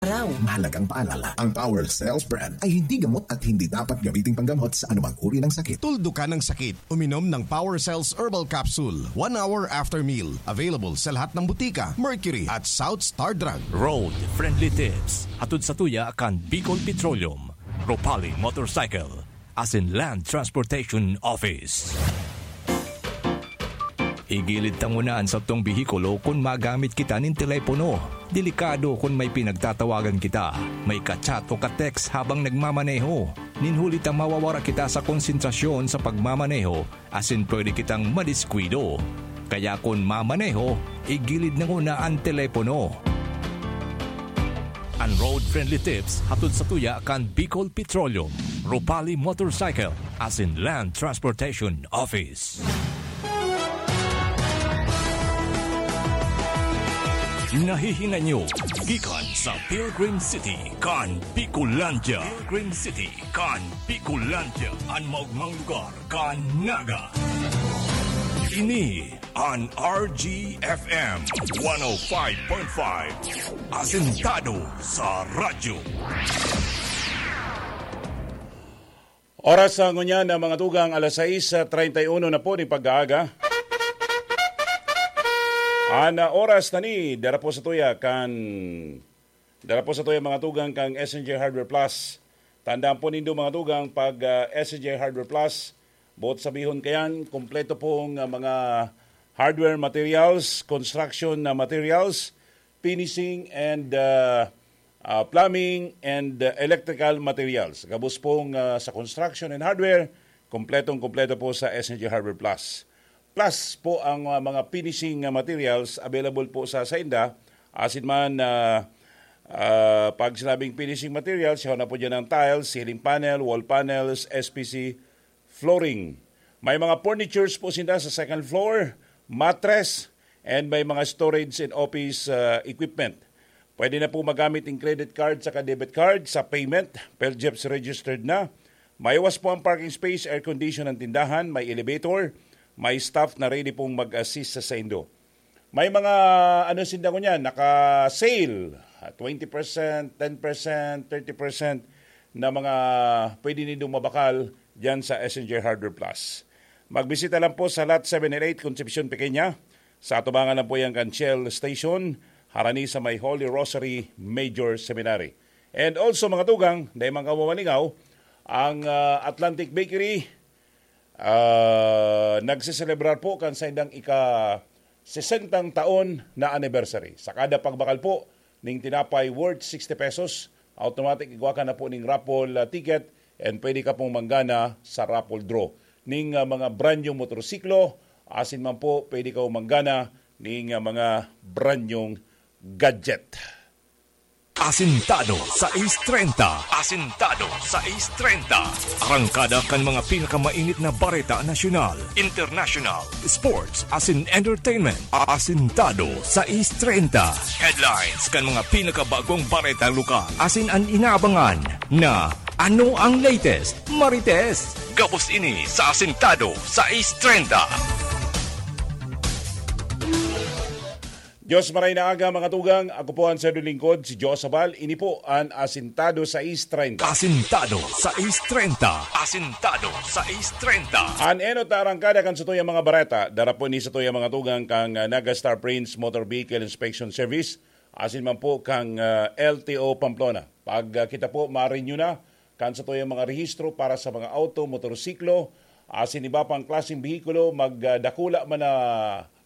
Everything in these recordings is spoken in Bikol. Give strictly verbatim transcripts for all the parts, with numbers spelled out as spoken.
araw. Mahalagang paalala, ang Power Cells brand ay hindi gamot at hindi dapat gamiting panggamot sa anumang uri ng sakit. Tuldukan ang sakit. Uminom ng Power Cells Herbal Capsule one hour after meal. Available sa lahat ng butika, Mercury at South Star Drug. Road Friendly Tips. Hatod sa tuya kan Bicol Petroleum, Ropali Motorcycle, asin Land Transportation Office. Igilid ta nguna an satong behikulo kun magamit kita nin telepono. Delikado kun may pinagtatawagan kita, may ka-chat o ka-text habang nagmamaneho. Nin huli ta mawawara kita sa konsentrasyon sa pagmamaneho asin pwede kitang madiskuido. Kaya kun mamaneho, igilid na nguna an telepono. An Road Friendly Tips hatod sa tuya kan Bicol Petroleum, Ropali Motorcycle, asin Land Transportation Office. Nahihinay nyo gikan sa Pilgrim City kan Bicolandia. Pilgrim City kan Bicolandia, an maogmang lugar kan Naga. Ini an R G F M one oh five point five, asentado sa radyo. Oras sa ngunyan na mga tugang, alas sais treinta y uno na po nin pag-aaga. An, ah, oras na ni, dara po sa tuya kan, dara po sa tuya mga tugang kang S N J Hardware Plus. Tandaan po nindo mga tugang, pag, ah, S N J Hardware Plus, buot sabihon kayan, kompleto pong, ah, mga hardware materials, construction na materials, finishing and, ah, ah, plumbing and, ah, electrical materials. Gabos pong, ah, sa construction and hardware, kompletong-kompleto po sa S N J Hardware Plus. Plus po ang, ah, mga finishing, ah, materials available po sa sainda. Asin man, ah, ah, pag sinabing finishing materials, siya na po dyan ang tiles, ceiling panel, wall panels, S P C, flooring. May mga furnitures po sinda sa second floor, mattress, and may mga storage and office, ah, equipment. Pwede na po magamit ang credit card saka debit card sa payment. Peljep's registered na. Maiwas po ang parking space, air condition ang tindahan, may elevator, may staff na ready pong mag-assist sa saindo. May mga, ano, sinda ngunyan, naka-sale, ah, twenty percent, ten percent, thirty percent na mga pwede nindong mabakal diyan sa S N J Hardware Plus. Magbisita lang po sa Lot seven and eight, Concepcion Pequeña. Sa atubangan lang po yan kan Shell Station, harani sa may Holy Rosary Major Seminary. And also, mga tugang, dahil man kamo malingaw, ang, ah, Atlantic Bakery, ah, nagseselebrar po kan saindang ika-sesentang taon na anniversary. Sa kada pagbakal po ning tinapay worth sixty pesos, automatic igwa ka na po ning raffle, ah, ticket, and pwede ka pong manggana sa raffle draw ning, ah, mga brand new motorsiklo, asin man po pwede ka manggana ning, ah, mga brand new gadget. Asintado sais treinta. Asintado sais treinta. Arangkada kan mga pinakamainit na bareta nasyonal, international, sports, asin entertainment. Asintado sais treinta. Headlines kan mga pinakabagong bareta lokal. Asin an inaabangan na ano ang latest, Marites. Gabos ini sa Asintado sais treinta. Diyos maray na aga, mga tugang. Ako po ang sayo lingkod, si Joe Sabal. Ini po an Asintado sais treinta. Asintado sais treinta. Asintado sais treinta. An enot na arangkada kan satuyang mga bareta, dara po ni satuyang mga tugang kang, ah, Naga Star Prince Motor Vehicle Inspection Service, asin man po kang, ah, L T O Pamplona. Pag, ah, kita po ma-renew na kan satuyang mga rehistro para sa mga auto, motorsiklo, asin iba pang klaseng behikulo, mag, ah, dakula man na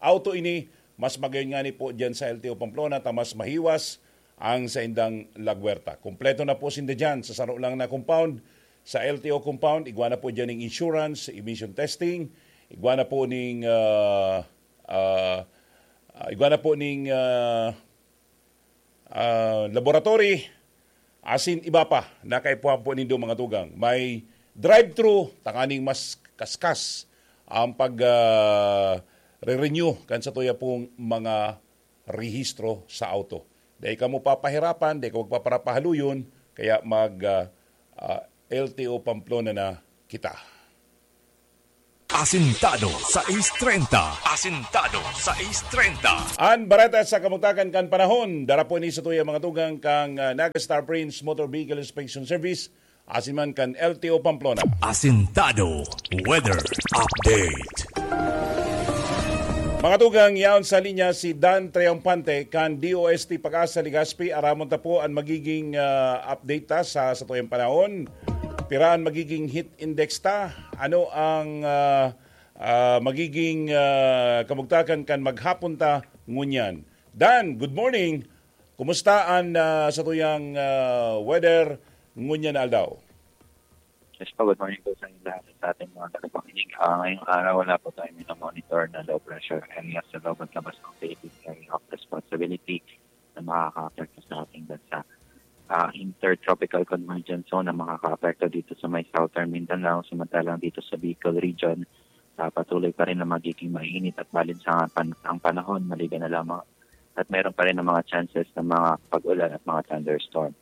auto ini, mas magayon ngani po diyan sa L T O Pamplona ta mas mahiwas ang saindang lagwerta. Kompleto na po sinda diyan sa saro lang na compound. Sa L T O compound, igwa na po diyan ning insurance, emission testing, igwa na po ning, ah, ah, ah, igwa na po ning, ah, ah, laboratory, asin iba pa na kaipuhan po nindo, mga tugang. May drive-thru, tanganing mas kaskas ang pag, ah, re-renew kan satuya pong mga rehistro sa auto. Dai kamo papahirapan, dai kamo paparapahaluyon, kaya mag, ah, ah, L T O Pamplona na kita. Asintado sais treinta. Asintado sais treinta. An bareta sa kamugtakan kan panahon, dara po ni sa tuya mga tugang kang, ah, Naga Star Prince Motor Vehicle Inspection Service, asin man kan L T O Pamplona. Asintado Weather Update. Mga tugang, yaon sa linya si Dan Triomphante kan D O S T Pag-asa Legazpi. Aramon ta po an magiging, ah, update ta sa, sa tuyang panahon. Pira an magiging heat index ta? Ano ang, ah, ah, magiging, ah, kamugtakan kan maghapon ta ngunyan? Dan, good morning. Kumusta an, ah, sa tuyang, ah, weather ngunyan na aldaw? Yes po, good morning po sa inyo lahat at sa ating mga tagapakinig. Ah, ngayong araw, wala po tayo minamonitor na low pressure area sa loob at labas ng Philippine Area of Responsibility na makakaapekto sa ating bansa. Ah, intertropical convergence zone na makakaapekto dito sa may Southern Mindanao, samantalang dito sa Bicol region, ah, patuloy pa rin na magiging mainit at balinsangan pan- ang panahon, maliban na lamang at meron pa rin ang mga chances ng mga pag-ulan at mga thunderstorm.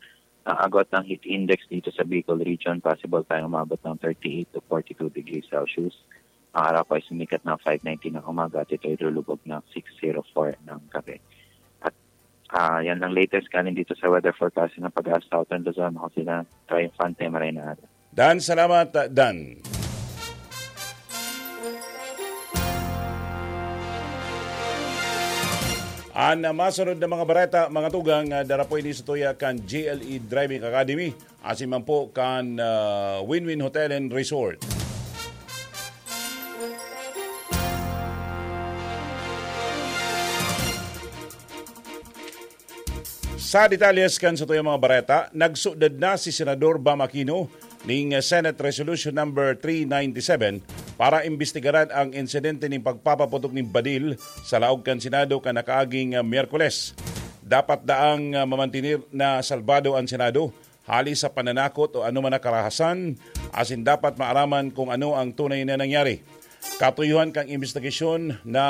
Ang agot ng heat index dito sa Bicol region, possible tayong umabot ng thirty-eight to forty-two degrees Celsius. Ang araw po ay sumikat ng five nineteen ng umaga at ito ay lulubog ng six oh four ng gabi. At, ah, yan lang latest galing dito sa weather forecast ng Pag-asa Southern Luzon. Ako sila, Triumphante, maray na araw. Dan, salamat, Dan. An masunod na mga bareta, mga tugang, ah, dara po ini sa tuya kan G L E Driving Academy, asin man po kan, ah, Win-Win Hotel and Resort. Sa detalles kan satuyang mga bareta, nagsudad na si Senador Bam Aquino ning Senate Resolution Number three ninety-seven para imbestigaran ang insidente nin pagpapaputok nin badil sa laog kan Senado kan nakaaging, ah, Miyerkules. Dapat daang, ah, mamantener na salbado an Senado hali sa pananakot o anoman na karahasan, asin dapat maaraman kung ano ang tunay na nangyari. Katuyohan kan imbestigasyon na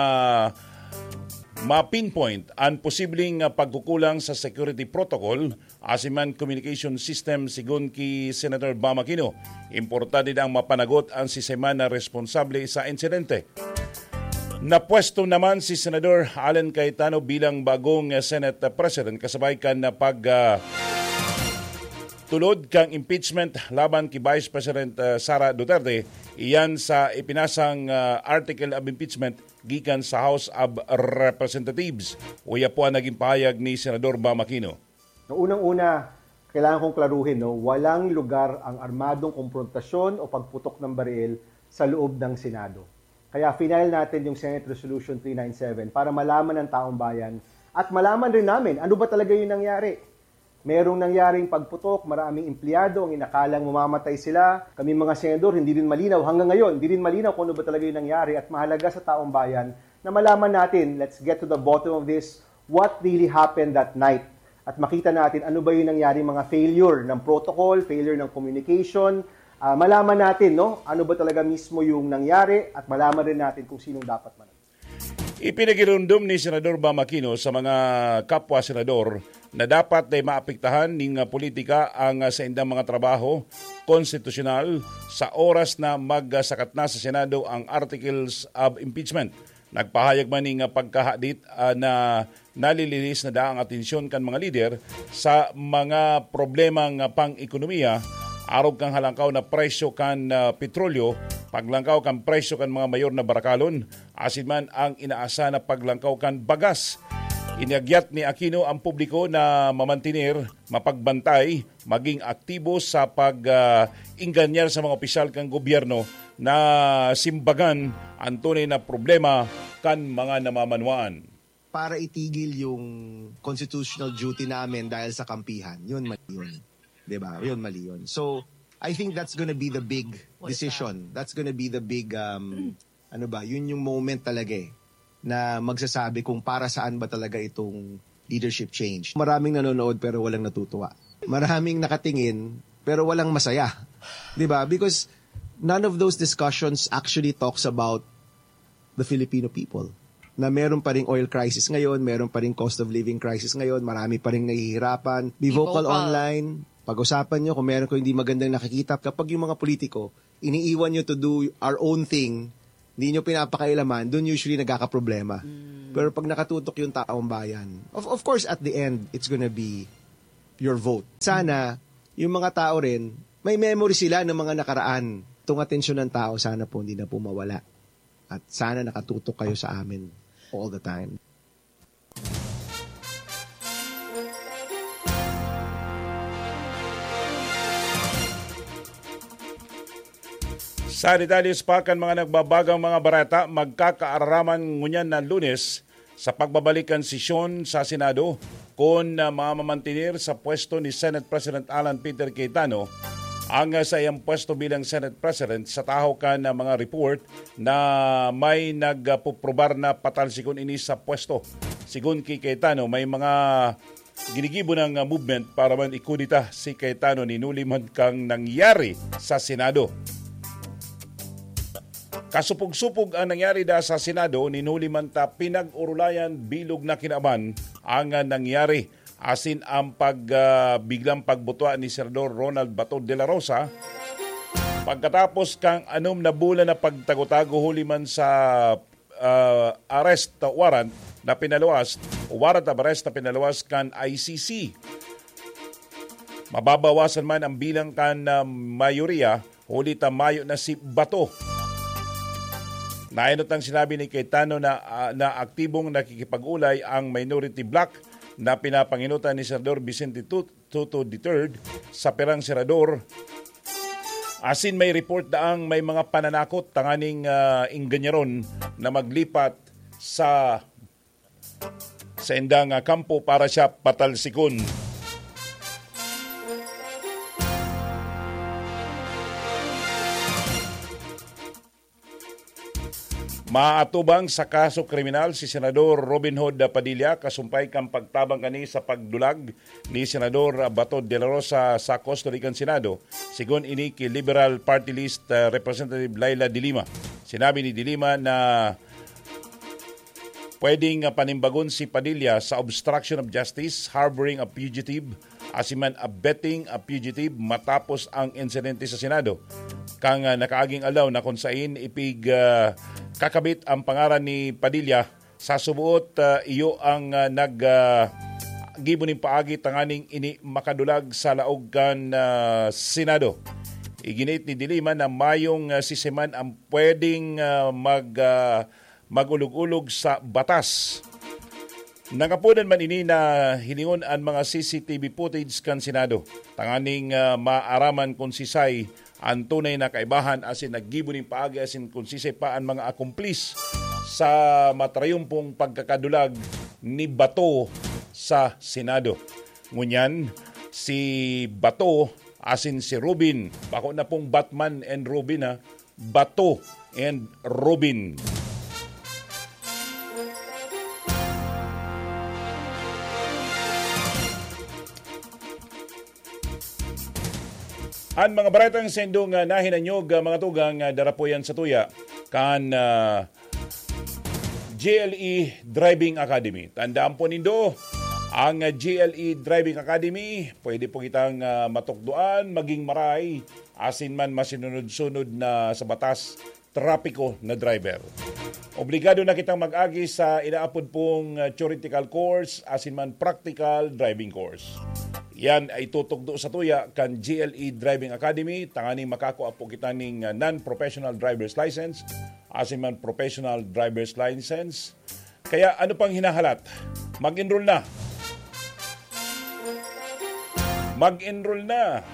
ma-pinpoint an posibleng pagkukulang sa security protocol asin man communication system, sigon ki Senator Bam Aquino. Importante daang mapanagot an siisay man na responsable sa insidente. Napwesto naman si Senador Alan Cayetano bilang bagong Senate President kasabay kan pag, ah, tulod kan impeachment laban ki Vice President, ah, Sara Duterte, iyan sa ipinasang, ah, article of impeachment gikan sa House of Representatives. Uya po ang naging pahayag ni Senador Bam Aquino. No, unang-una, kailangan kong klaruhin, no, walang lugar ang armadong komprontasyon o pagputok ng baril sa loob ng Senado. Kaya final natin yung Senate Resolution three nine seven para malaman ng taong bayan at malaman rin namin ano ba talaga yung nangyari. Merong nangyaring pagputok, maraming empleyado ang inakalang mamamatay sila. Kami mga senador, hindi rin malinaw hanggang ngayon, hindi rin malinaw kung ano ba talaga yung nangyari at mahalaga sa taong bayan na malaman natin, let's get to the bottom of this, what really happened that night. At makita natin ano ba yung nangyari, mga failure ng protocol, failure ng communication. Ah, malaman natin, no, ano ba talaga mismo yung nangyari at malaman rin natin kung sinong dapat man. Ipinagirumdom ni Senador Bam Aquino sa mga kapwa senador na dapat ay maapektahan ning politika ang, ah, saindang mga trabaho konstitusyonal sa oras na magsakat na sa Senado ang articles of impeachment. Nagpahayag man ning pagkahadit, ah, na nalilinis na daang atensyon kan mga lider sa mga problemang pang-ekonomiya, arog kan halangkaw na presyo kan, ah, petrolyo, paglangkaw kan presyo kan mga mayor na barakalon, asin man ang inaasa na paglangkaw kan bagas. Inagyat ni Aquino ang publiko na mamantener, mapagbantay, maging aktibo sa pag, ah, ingganyar sa mga opisyal kan gobyerno na simbagan ang tunay na problema kan mga namamanwaan. Para itigil yung constitutional duty namin dahil sa kampihan, yun mali yun. 'Di ba? Yun mali yun. So, I think that's gonna be the big decision. That's gonna be the big, um, ano ba, yun yung moment talaga eh, na magsasabi kung para saan ba talaga itong leadership change. Maraming nanonood pero walang natutuwa. Maraming nakatingin pero walang masaya. 'Di ba? Because none of those discussions actually talks about the Filipino people. Na meron pa ring oil crisis ngayon, meron pa ring cost of living crisis ngayon, marami pa ring nahihirapan. Be vocal online. Pag-usapan nyo kung meron ko hindi magandang nakikita. Kapag yung mga politiko, iniiwan nyo to do our own thing, Hindi nyo pinapakailaman, dun usually nagkakaproblema. Pero pag nakatutok yung taong bayan, of, of course, at the end, it's gonna be your vote. Sana, yung mga tao rin, may memory sila ng mga nakaraan. Itong atensyon ng tao, sana po hindi na po mawala. At sana nakatutok kayo sa amin all the time. Sa detalye pa kan mga nagbabagang mga bareta, magkakaaraman ngunyan na Lunes sa pagbabalik kan sesyon sa Senado kun, ah, mamamantener sa pwesto ni Senate President Alan Peter Cayetano ang, ah, saiyang pwesto bilang Senate President sa tahaw kan, ah, mga report na may nagpuprobar na patalsikon ini sa pwesto. Sigon ki Cayetano, may mga ginigibo nang, ah, movement para man ikudeta si Cayetano, ninuli man kang nangyari sa Senado. Kasupog-supog ang nangyari da sa Senado, ninuli man ta pinag-orolayan bilog na kinaban ang, ah, nangyari, asin ang pag, ah, biglang pagbutwa ni Senador Ronald Bato de la Rosa pagkatapos kang anom na bulan na pagtago-tago huli man sa ah, arrest warrant na pinaluwas, warrant of arrest na pinaluwas kan I C C. Mababawasan man ang bilang kan, ah, mayoriya, huli ta mayo na si Bato. Nainot ang sinabi ni Cayetano na, ah, na aktibong nakikipag-ulay ang minority bloc na pinapanginutan ni Senador Vicente Tut Tuto the third sa pirang senador. Asin may report daang may mga pananakot tanganing, ah, ingganyaron na maglipat sa saindang, ah, kampo para siya patalsikon. Maatubang sa kaso kriminal si Senador Robin Hood Padilla kasumpay kan pagtabang kani sa pagdulag ni Senador Bato de la Rosa sa custody kan Senado, sigon ini ki Liberal Party List, ah, Representative Leila de Lima. Sinabi ni de Lima na pwedeng, ah, panimbagon si Padilla sa obstruction of justice, harboring a fugitive, asin man abetting a fugitive matapos ang insidente sa Senado kan, ah, nakaaging aldaw na kun sain ipig, ah, kakabit ang pangaran ni Padilla. Sa suboot, ah, iyo ang, ah, nag, ah, gibo nin paagi tanganing ini makadulag sa laog kan, ah, Senado. Iginiit ni de Lima na mayong, ah, sisiman ang pwedeng, ah, mag, ah, mag-ulog-ulog sa batas. Nangapodan man ini na hilingon an mga C C T V footage kan Senado, tanganing, ah, maaraman kun sisay an tunay na kaibahan asin naggibo nin paagi asin kun sisay pa an mga akomplis sa matrayumpong pagkakadulag ni Bato sa Senado. Ngunyan, si Bato asin si Robin, bako na pong Batman and Robin, ha, Bato and Robin. An mga baretang sendong, ah, nahinanyog, ah, mga tugang, ah, darapuyan sa tuya kan, ah, G L E Driving Academy. Tandaan po nindo, ang G L E Driving Academy, pwede po kitang, ah, matukdoan, maging maray, asin man masinunod-sunod na sa batas, trapiko na driver. Obligado na kitang mag-agi sa inaapod pong, ah, theoretical course, asin man practical driving course. Yan ay tutugdo sa tuya kan G L E Driving Academy, tanganing makakua po kita ning, ah, non-professional driver's license, asin man professional driver's license. Kaya ano pang hinahalat? Mag-enroll na. Mag-enroll na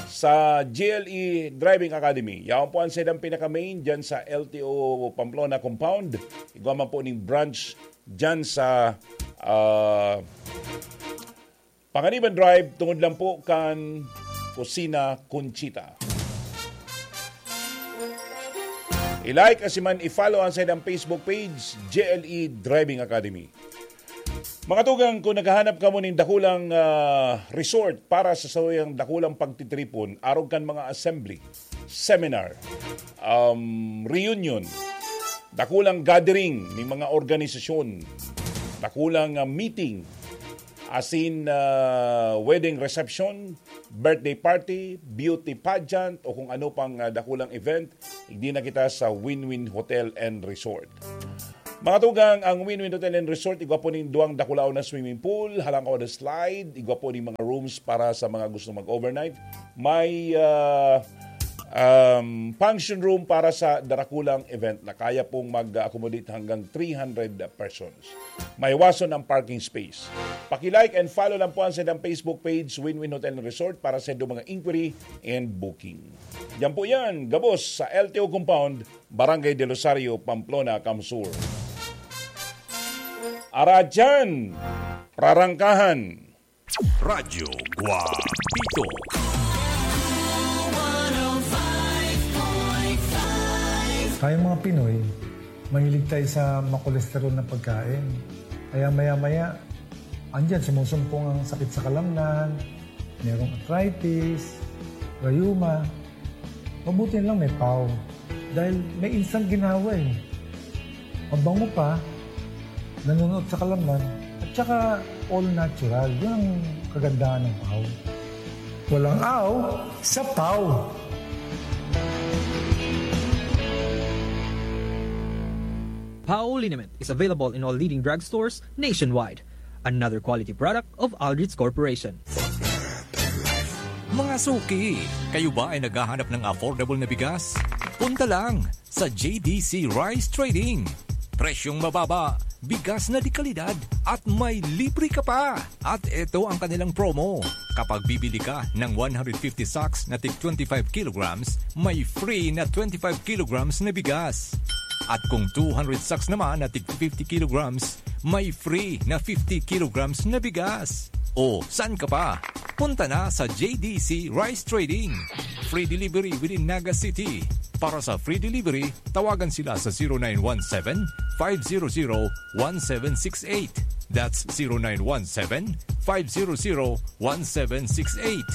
sa G L E Driving Academy. Yaon po ang sedang pinaka-main dyan sa L T O Pamplona Compound. Igwa man po ning branch dyan sa, ah, Panganiban Drive, tungod lang po kan Kusina Conchita. I-like asin man i-follow ang saindang Facebook page, J L E Driving Academy. Mga tugang, kung naghahanap kamo nin dakulang, ah, resort para sa sauyang dakulang pagtitripon, arog kan mga assembly, seminar, um, reunion, dakulang gathering nin mga organisasyon, dakulang, ah, meeting, asin, ah, wedding reception, birthday party, beauty pageant, o kung ano pang, ah, dakulang event, igdi na kita sa Win-Win Hotel and Resort. Mga tugang, ang Win-Win Hotel and Resort, igwa po ning duwang dakulaon na swimming pool, halangkaw na slide, igwa po ning mga rooms para sa mga gusto mag-overnight. May, ah, um, function room para sa darakulang event na kaya pong mag-accommodate hanggang three hundred persons. May wason ang parking space. Paki-like and follow lang po ang saindang Facebook page, Win-Win Hotel and Resort, para sa saindang mga inquiry and booking. Yan po yan, gabos sa L T O Compound, Barangay del Rosario, Pamplona, CamSur. Aradyan! Prarangkahan! Radyo Guapito. Tayong mga Pinoy, mahilig tayo sa makolesterol na pagkain. Kaya maya-maya, andyan, sumusumpong ang sakit sa kalamnan, merong arthritis, rayuma. Mabuti na lang may pau. Dahil may instant ginhawa eh. Mabango pa, nanunuot sa kalamnan, at saka all natural. Yun ang kagandahan ng pau. Walang aw sa pau. Pau liniment is available in all leading drugstores nationwide. Another quality product of Aldrich Corporation. Mga suki, kayo ba ay naghahanap ng affordable na bigas? Punta lang sa J D C Rice Trading. Presyong mababa, bigas na de kalidad, at may libre ka pa. At ito ang kanilang promo. Kapag bibili ka ng one hundred fifty sacks na tig twenty-five kilograms, may free na twenty-five kilograms na bigas. At kung two hundred sacks naman na tig fifty kilograms, may free na fifty kilograms na bigas. O, saan ka pa? Punta na sa J D C Rice Trading. Free delivery within Naga City. Para sa free delivery, tawagan sila sa zero nine one seven, five zero zero, one seven six eight. That's zero nine one seven, five zero zero, one seven six eight.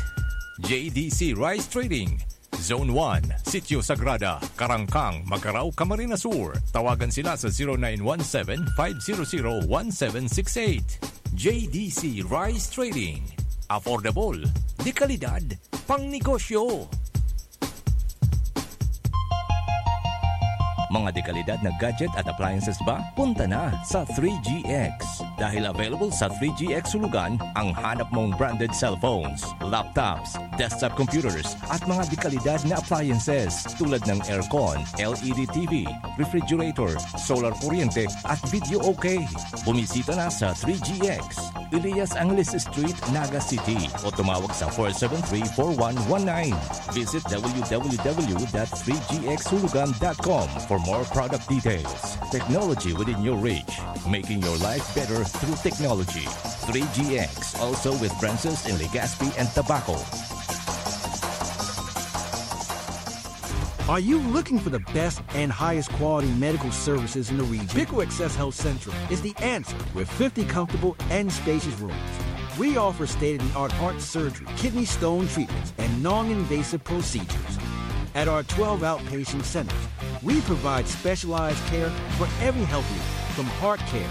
J D C Rice Trading, Zone one, Sitio Sagrada, Karangkang, Magarao, Camarines Sur. Tawagan sila sa zero nine one seven, five zero zero, one seven six eight. J D C Rice Trading. Affordable, de kalidad, pang negosyo. Mga dekalidad na gadget at appliances ba? Punta na sa three G X. Dahil available sa three G X Hulugan ang hanap mong branded cellphones, laptops, desktop computers, at mga dekalidad na appliances tulad ng aircon, L E D T V, refrigerator, solar kuryente, at video okay. Bumisita na sa three G X, Elias Angeles Street, Naga City, o tumawag sa four seven three, four one one nine. Visit w w w dot three g x hulugan dot com for more product details. Technology within your reach, making your life better through technology. Three G X, also with branches in Legazpi and Tabaco. Are you looking for the best and highest quality medical services in the region? Pico Access Health Central is the answer with fifty comfortable and spacious rooms. We offer state-of-the-art heart surgery, kidney stone treatments, and non-invasive procedures. At our twelve outpatient centers, we provide specialized care for every health need, from heart care,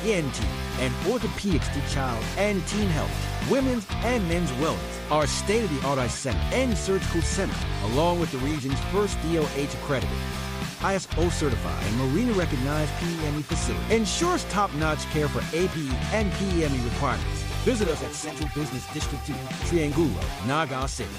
E N T, and orthopedics to child and teen health, women's and men's wellness. Our state-of-the-art eye center and surgical center, along with the region's first D O H accredited, I S O certified, and Marina recognized P E M E facility, ensures top-notch care for A P E and P E M E requirements. Visit us at Central Business District two, Triangulo, Naga City.